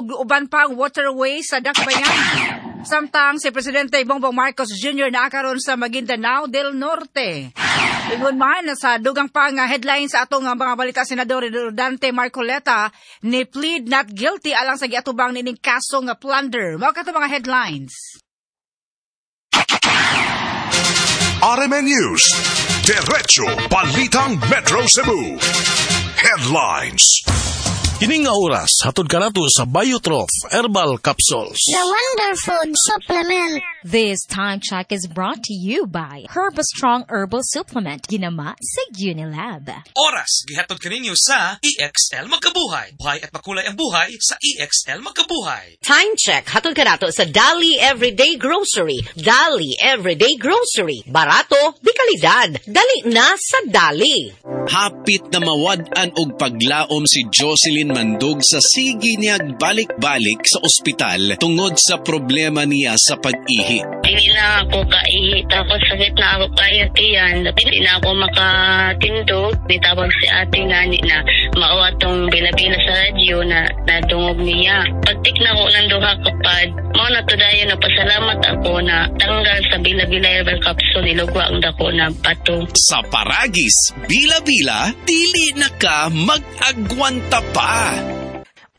Ug uban pang waterway sa Dakbayan. Samtang si Presidente Bongbong Marcos Jr. naa karon sa Maguindanao del Norte. Ingon man sa dugang pa nga headline sa atong mga balita, Senador Dante Marcoleta ni plead not guilty alang sa giatubang nining kaso nga plunder. Mao kato mga headlines. RMN News, Diretso Balitang Metro Cebu. Headlines. Kini nga oras, hatod kanato sa Biotroph Herbal Capsules. The Wonder Food Supplement. This time check is brought to you by Herbastrong Herbal Supplement. Ginama sa Unilab. Oras, gihatod kaninyo sa EXL Magkabuhay. Buhay at makulay ang buhay sa EXL Magkabuhay. Time check, hatod kanato sa Dali Everyday Grocery. Dali Everyday Grocery. Barato, di kalidad. Dali na sa Dali. Hapit na mawad-an og paglaom si Jocelyn Mandog sa sige niyag balik-balik sa ospital tungod sa problema niya sa pag-ihi. Hindi na ako kaihi, tapos sakit na ako kayo tiyan. Hindi na ako makatindog. Nitawag si ate nga ni na mao atong bila-bila sa radyo na nadungog niya. Pagtik na ko ng duha kapad, mao na to dayon na pasalamat ako na tanggal sa bila-bila herbal capsule, nilugwa ang dako na bato. Sa Paragis, bila-bila, dili na ka mag-agwanta pa.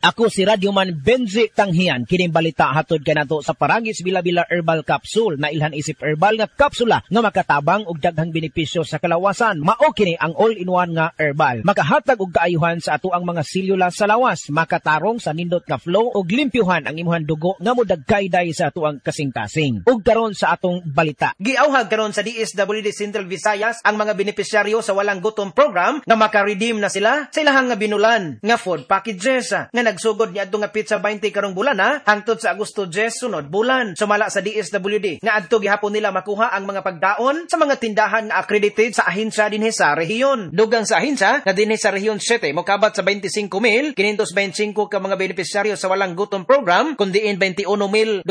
Ako si Radyoman Benji Tanghian, kining balita hatod kanato sa Paragis Bila-Bila Herbal Capsule na ilhan isip herbal nga kapsula nga makatabang og daghang benepisyo sa kalawasan. Mao kini ang all-in-one nga herbal. Makahatag og kaayuhan sa ato ang mga selula sa lawas, makatarong sa nindot nga flow ug limpyuhan ang imuhang dugo nga modagkayday sa ato ang kasing-kasing. Ug karon sa atong balita. Giauhag karon sa DSWD Central Visayas ang mga benepisyaryo sa Walang Gutom Program nga maka-redeem na sila sa ilahang nga binulan nga food packages nga nagsugod niadto nga petsa 20 karong bulan na hangtod sa Agosto 10 sunod bulan. Sumala sa DSWD nga adto gihapon nila makuha ang mga pagdaon sa mga tindahan nga accredited sa ahensya dinhi sa rehiyon. Dugang sa ahensya nga dinhi sa Rehiyon 7 mokabat sa 25,525 ka mga benepisyaryo sa Walang Gutom Program, kun diin 21,214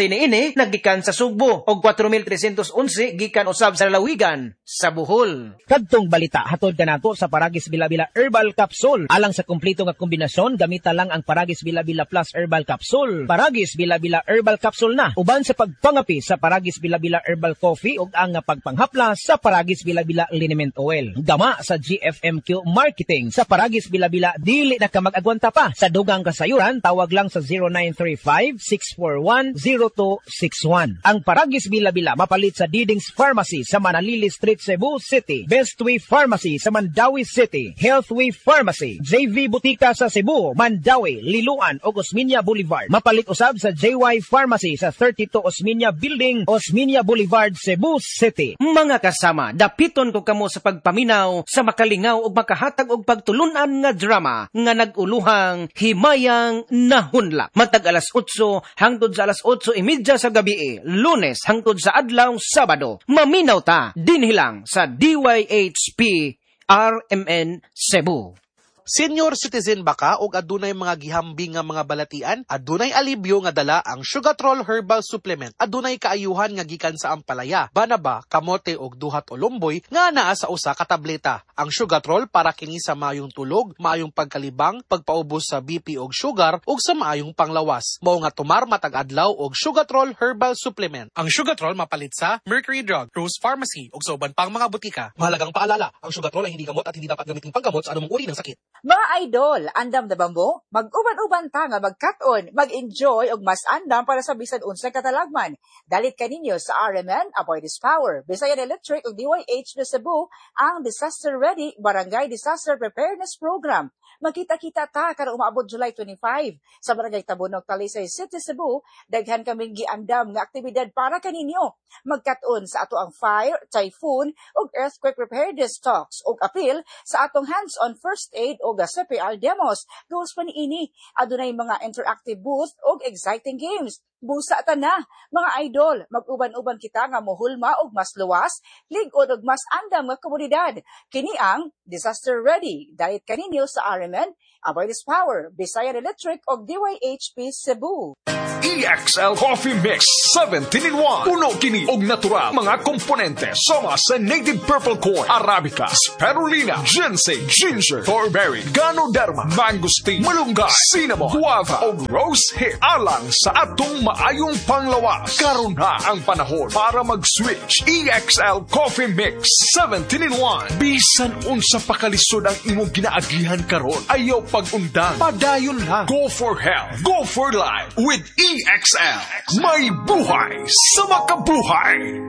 niini naggikan sa Sugbo og 4,311 gikan usab sa lalawigan sa Bohol. Kadtong balita hatod kanato sa Paragis Bila-Bila Herbal Capsule. Alang sa kumpleto nga kombinasyon, gamita lang ang Paragis Bila-Bila Plus Herbal Capsule. Paragis Bila-Bila Herbal Capsule na uban sa pagpangapi sa Paragis Bila-Bila Herbal Coffee ug ang pagpanghapla sa Paragis Bila-Bila Liniment Oil. Gama sa GFMQ Marketing. Sa Paragis Bila-Bila, dili na ka mag-agwanta pa. Sa dugang kasayuran, tawag lang sa 0935-641-0261. Ang Paragis Bila-Bila mapalit sa Diding's Pharmacy sa Manalili Street, Cebu City, Bestway Pharmacy sa Mandaue City, Healthway Pharmacy, JV Butika sa Cebu, Mandaue, Liloan ug Osmeña Boulevard. Mapalit usab sa JY Pharmacy sa 32 Osmeña Building, Osmeña Boulevard, Cebu City. Mga kasama, dapiton ko kamo sa pagpaminaw sa makalingaw ug makahatag og pagtulunan nga drama nga nag-uluhang Himayang Nahunlak. Matag alas 8 hangtod sa alas 8:30 sa gabi, Lunes hangtod sa adlaw Sabado. Maminaw ta dinhi lang sa DYHP RMN Cebu. Senior citizen ba ka og adunay mga gihambing nga mga balatian? Adunay alibyo nga dala ang Sugatrol Herbal Supplement. Adunay kaayuhan nga gikan sa ampalaya, banaba, kamote og duhat o lumboy nga naa sa usa ka tableta. Ang Sugatrol para kini sa maayong tulog, maayong pagkalibang, pagpaubos sa BP og sugar ug sa maayong panglawas. Mao nga tumar matag adlaw og Sugatrol Herbal Supplement. Ang Sugatrol mapalit sa Mercury Drug, Rose Pharmacy ug sa uban pang mga butika. Mahalagang paalala, ang Sugatrol ay hindi gamot at hindi dapat gamiting panggamot sa anumang uri ng sakit. Mga idol, andam na ba mo? Mag-uban-uban ta nga magkat-on, mag-enjoy og mas andam para sa bisan unsa katalagman. Dalit kaninyo sa RMN, Aboitiz Power, Visayan Electric ug DYH na Cebu ang Disaster Ready Barangay Disaster Preparedness Program. Magkita-kita ta karong umaabot July 25 sa Barangay Tabunok, Talisay City, Cebu. Daghan kaming giandam nga aktibidad para kaninyo. Magkat-on sa ato ang fire, typhoon ug earthquake preparedness talks ug apil sa atong hands-on first aid ug CPR demos. Gawas pa niini, adunay mga interactive booth ug exciting games. Busa ta na. Mga idol, mag-uban-uban kita nga mohulma og mas luwas, lig-on og mas andam nga komunidad. Kini ang Disaster Ready. Dalit kaninyo sa RMN, Aboitiz Power, Bisayan Electric og DYHP Cebu. EXL Coffee Mix 17 in 1. Puno kini og natural mga komponente sama sa native purple corn, arabica, spirulina, ginseng, ginger, thornberry, ganoderma, mangosteen, malunggay, cinnamon, guava og rose hip alang sa atong maayong panglawas. Karon na ang panahon para mag-switch. EXL Coffee Mix 17 in 1. Bisan unsa pa kalisod ang imong ginaagihan karon, ayaw pag-undang. Padayon lang. Go for health. Go for life with EXL. May buhay sa makabuhay.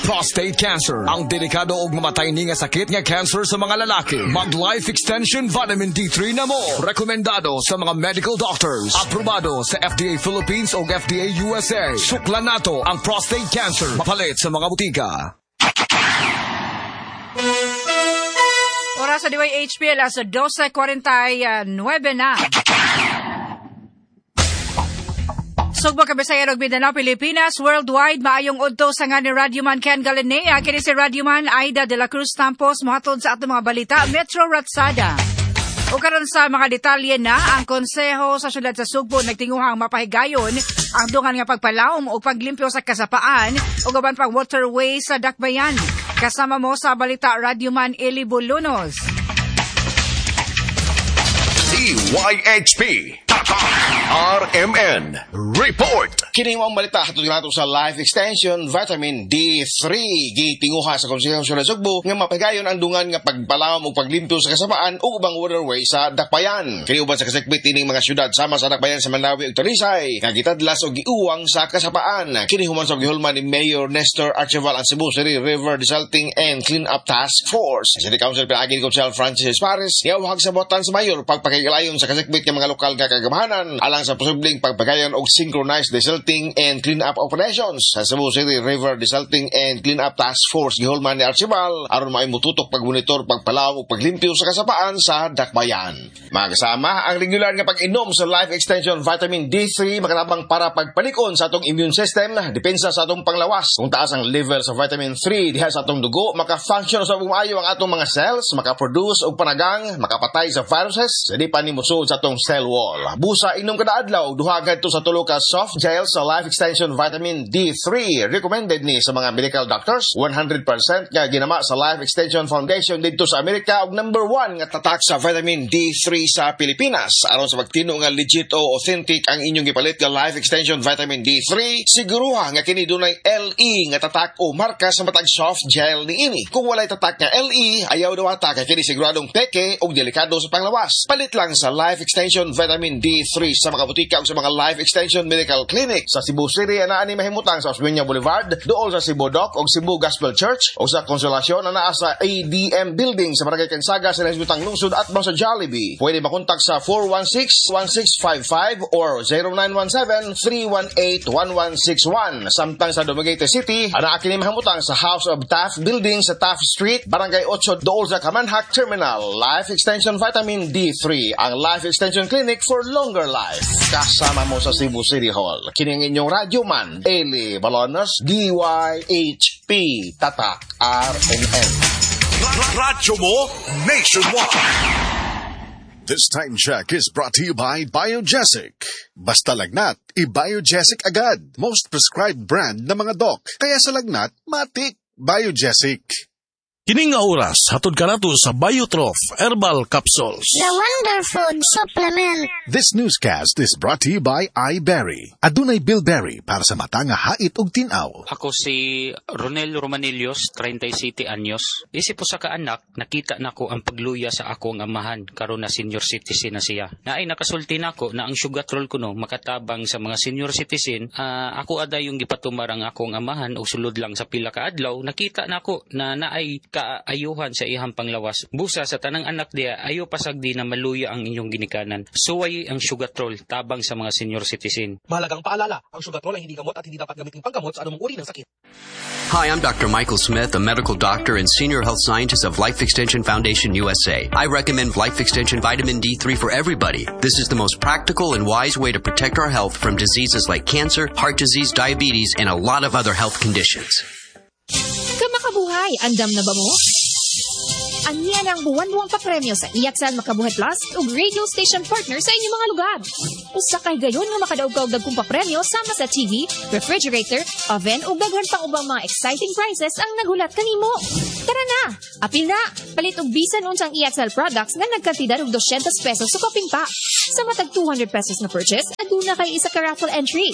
Prostate cancer, ang delikado og mamatay ni nga sakit nga cancer sa mga lalaki. Mag Life Extension Vitamin D3 na mo. Rekomendado sa mga medical doctors. Aprobado sa FDA Philippines o FDA USA. Suklan nato ang prostate cancer. Mapalit sa mga butika. Oras sa DYHP, alas 12:49 na. Sugbo Kabisaya ug Mindanao, Pilipinas, worldwide, maayong udto sa nga ni Radyoman Ken Galinea, kini si Radyoman Aida de la Cruz Tampos, mohatod sa atong mga balita, Metro Ratsada. O karon sa mga detalye na, ang konseho sa syudad sa Sugbo nagtinguhang mapahigayon ang dungan nga pagpalawom o paglimpyo sa kasapaan o gaban pang waterway sa Dakbayan. Kasama mo sa balita, Radyoman Eli Bolunos. DYHP RMN Report. Kini ang balita hatod nato sa Life Extension Vitamin D3 gitinguha sa Konseho sa Sugbo nga mapahigayon ang dungan nga pagpalawom ug paglimpyo sa kasapaan ug ubang waterway sa Dakbayan. Kini uban sa kasikbit ining mga syudad sama sa Dakbayan sa Mandaue ug Talisay nga gitadlas og giuwang sa kasapaan. Kini human sa gihulman ni Mayor Nestor Archival ang Cebu City River Desalting and Clean Up Task Force. City Council pinaagi ni Konsehal Francis Paris niawhag sa botan sa mayor pagpakilayon sa kasikbit nga mga lokal nga kagamahanan alang sa posibleng pagpagayon og synchronized desilting and clean-up operations sa Cebu City River Desilting and Clean-up Task Force gihulman ni Archibald aron maay motutok pagmonitor, pagpalaw ug paglimpyo sa kasapaan sa Dakbayan. Mga kasama, ang regular nga pag-inom sa Life Extension Vitamin D3 makatabang para pagpalikon sa atong immune system, depensa sa atong panglawas. Kung taas ang level sa vitamin 3 diha sa atong dugo, maka-function sa maayo ang atong mga cells, maka-produce og panagang, makapatay sa viruses, sa di pa ni mosuod sa atong cell wall. Busa inom kada adlaw duha ngadto sa tulo ka soft gel sa Life Extension Vitamin D3. Recommended ni sa mga medical doctors. 100% nga ginama sa Life Extension Foundation didto sa Amerika og number 1 nga tatak sa vitamin D3 sa Pilipinas. Aron sa pagtino nga legit o authentic ang inyong gipalit nga Life Extension Vitamin D3, siguruha nga kini dunay LE nga tatak o marka sa matag soft gel niini. Kung walay tatak nga LE, ayaw dawata kay kini siguradong peke og delikado sa panglawas. Palit lang sa Life Extension Vitamin D3 sa mga butika o sa mga Life Extension Medical Clinic sa Cebu City anaa ni mahimutang sa Osmeña Boulevard, duol sa Cebu Doc o Cebu Gospel Church o sa Consolacion anaa sa ADM Building sa Barangay Kansaga sa Nasbutang Lungsod at sa Jollibee. Pwede makontak sa 416-1655 or 0917-318-1161. Samtang sa Dumaguete City, anaa kini mahimutang sa House of Taft Building sa Taft Street, Barangay 8, duol sa Kamanhak Terminal. Life Extension Vitamin D3, ang Life Extension Clinic for longer life. Kasama mo sa Cebu City Hall. Kini ang inyong radyo man, Eli Balonos, DYHP, Tatak, RMN. Radyo mo nationwide. This time check is brought to you by Biogesic. Basta lagnat, i-Biogesic agad. Most prescribed brand ng mga doc. Kaya sa lagnat, matik, Biogesic. Kini nga oras, hatod ka nato sa Biotrof Herbal Capsules. The Wonderfood Supplement. This newscast is brought to you by iBerry. Adunay bilberry para sa mata nga hait ug tin-aw. Ako si Ronel Romanillos, 37 anyos. Isip po sa kaanak, nakita nako ang pagluya sa akong amahan karon na senior citizen na siya. Naay nakasulti nako na ang sugatrol kuno makatabang sa mga senior citizen. Ako aday yung gipatumar ang akong amahan og sulod lang sa pila ka adlaw, nakita nako na naay kaayuhan sa iyang panglawas. Busa sa tanang anak diya, ayo pasagdi na maluya ang inyong ginikanan. Suway ang Sugatrol tabang sa mga senior citizen. Mahalagang paalala, ang Sugatrol ay hindi gamot at hindi dapat gamitin panggamot sa anumang uri ng sakit. Hi, I'm Dr. Michael Smith, a medical doctor and senior health scientist of Life Extension Foundation USA. I recommend Life Extension Vitamin D3 for everybody. This is the most practical and wise way to protect our health from diseases like cancer, heart disease, diabetes, and a lot of other health conditions. Kamakabuhay, andam na ba mo? Aniya ang buwan-buwang papremyo sa EXL Makabuhay Plus ug radio station partner sa inyong mga lugar. Usa kay gayon nga makadaog ka og dagkong papremyo sama sa TV, refrigerator, oven ug daghan pang ubang mga exciting prizes ang naghulat kanimo. Tara na! Apil na! Palit og bisan unsang EXL products nga nagkantidad og 200 pesos sa kapin pa. Sa matag 200 pesos na purchase, aduna kay isa ka raffle entry.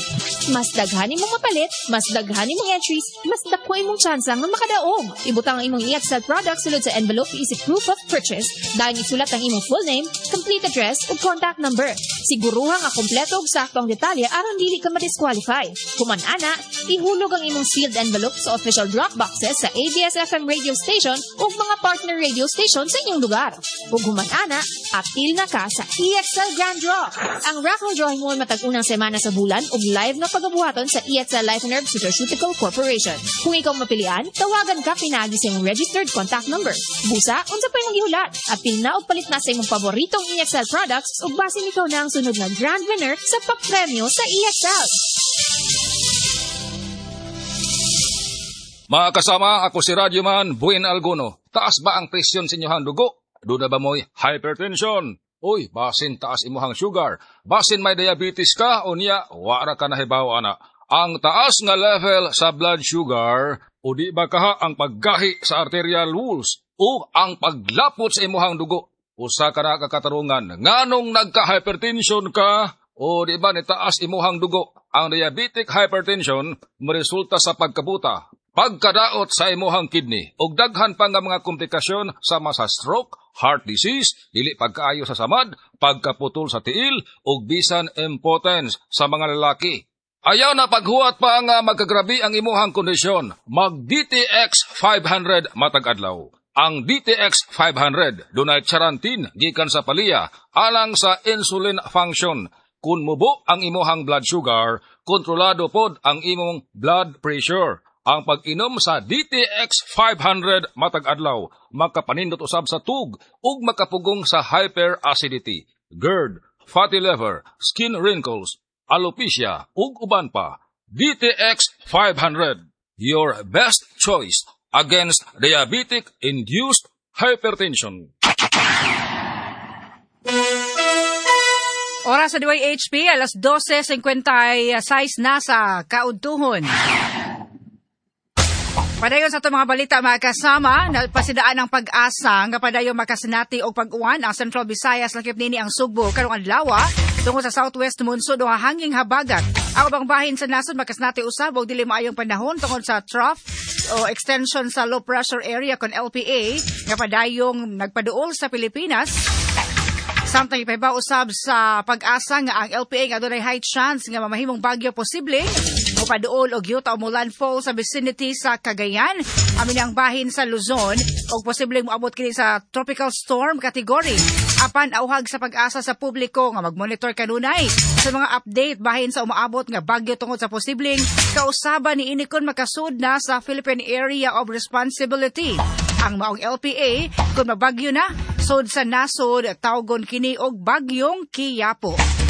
Mas daghan imong mapalit, mas daghan imong entries, mas dako imong tsansa nga makadaog. Ibutang ang imong EXL products sulod sa envelope isip proof of purchase, dayon isulat ang imong full name, complete address ug contact number. Siguruha nga kompleto ug sakto ang detalye aron dili ka ma-disqualify. Human ana, ihulog ang imong sealed envelope sa official drop boxes sa ABS-FM radio station ug mga partner radio station sa inyong lugar. Ug human ana, apil na ka sa EXL Grand Draw. Ang raffle drawing mo matag unang semana sa bulan ug live nga pagabuhaton sa EXL Life and Herb Superceutical Corporation. Kung ikaw mapilian, tawagan ka pinaagi sa imong registered contact number. Busa, unsa pa imong gihulat? Apil na og palit na sa imong paboritong EXL products ug basin ikaw na ang sunod nga grand winner sa papremyo sa EXL. Mga kasama, ako si Radyoman Buin Alguno. Taas ba ang presyon sa inyong dugo? Doon na ba mo'y hypertension? Uy, basin taas imuhang sugar. Basin may diabetes ka o niya, wara ka nahibaw ana. Ang taas nga level sa blood sugar, o di ba kaha ang paggahi sa arterial walls o ang paglapot sa imuhang dugo? Usa ka na kakatarungan, nganong nagka-hypertension ka o di ba nitaas imuhang dugo? Ang diabetic hypertension moresulta sa pagkabuta, pagkadaot sa imuhang kidney, ug daghan pa nga mga komplikasyon sama sa stroke, heart disease, dili pagkaayo sa samad, pagkaputol sa tiil, ug bisan impotence sa mga lalaki. Ayaw na paghuwat pa nga magkagrabi ang imuhang kondisyon. Mag DTX 500 matag adlaw. Ang DTX 500 dunay charantin gikan sa paliya alang sa insulin function. Kung mubo ang imuhang blood sugar, kontrolado pod ang imong blood pressure. Ang pag-inom sa DTX 500 matag adlaw makapanindot usab sa tug ug makapugong sa hyperacidity, GERD, fatty liver, skin wrinkles, alopecia ug uban pa. DTX 500, your best choice against diabetic-induced hypertension. Oras sa DYHP, alas 12:56 na sa kaudtuhon. Padayon sa itong mga balita mga kasama, napasidaan ang pag-asa nga padayon makasinati og pag-uwan ang Central Visayas lakip nini ang Sugbo karong adlaw tungod sa Southwest Monsoon o hanging habagat. Ang ubang bahin sa nasod makasinati usab og dili maayong panahon tungod sa trough o extension sa low pressure area kon LPA nga padayong nagpaduol sa Pilipinas. Samtang ipahibaw usab sa pag-asa nga ang LPA nga adunay high chance nga mamahimong bagyo posible mopaduol og yuta o landfall sa vicinity sa Cagayan, amin ang bahin sa Luzon, og posibleng moabot kini sa tropical storm category. Apan auhag sa pag-asa sa publiko nga magmonitor kanunay sa mga update bahin sa umaabot nga bagyo tungod sa posibleng kausaban ni ini kon makasud na sa Philippine Area of Responsibility. Ang maong LPA kung mabagyo na sud sa nasod tawgon kini og bagyong Kiyapo.